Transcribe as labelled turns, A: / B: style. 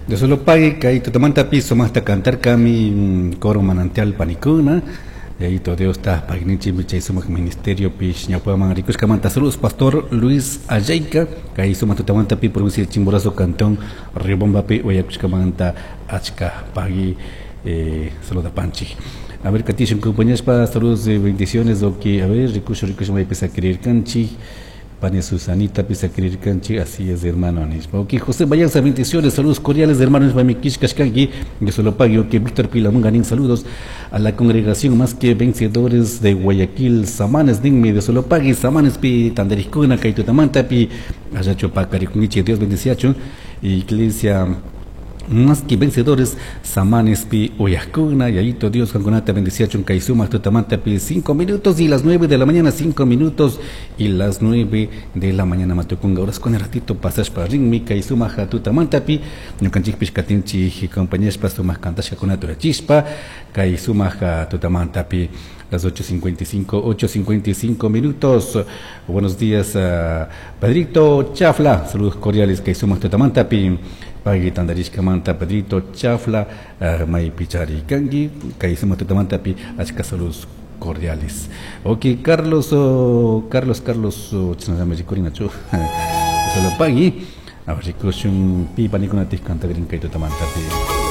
A: Dios lo pague kay tutamantapi sumaqta cantarkami coro Manantial panikuna. Yayito Diosta pagninchikmi chay sumaq ministeriopi ñawpaman rikushkamanta. Saludos, pastor Luis Ayayka, kay sumaq tutamantapi provincia de Chimborazo, cantón Riobambapi uyakushkamanta achka pagui saludapanchik. A ver, katishun compañeros, saludos y bendiciones, ok, a ver, rikushun, rikushun maypi sakirirkanchik. Pani Susanita pisakirirkanchik, así es, hermano, nishpa. Ok, José Bayanza, bendiciones, saludos cordiales, hermano, nishpa, mi kishkashkanki, Dios lo pague. Ok, Víctor Pilamunga, nin saludos a la congregación Más que Vencedores de Guayaquil, Samanes, ninmi, Dios lo pague, Samanes pi tandarikuna, kay tutamanta pi, allachu pakarikunkichik, Dios bendiciachun, iglesia Más que Vencedores, Samanes pi uyajkuna, Yayito Dios kankunata bendiciachun kay sumaq tutamanta pi 5 minutos y las 9 de la mañana, 5 minutos y las 9 de la mañana matukunga horas con el ratito pasashpa rinmi kay sumaq tutamanta pi ñukanchikpish katinchik compañerspa sumaq kantashkakunata urachishpa kay sumaq tutamanta pi las 8:55, 8:55 minutos. Buenos días, Pedrito Chafla, saludos cordiales kay sumaq tutamanta pi pagui tandarishkamanta Pedrito Chafla, maypichari kanki kay sumaq tutamanta pi achka saludos cordiales. Ok, Carlos, oh, Carlos, Carlos, oh, chinallami rikurinachu. Solo pagui. A ver, rikushun pi panikunatik kantagrin kay tutamanta pi.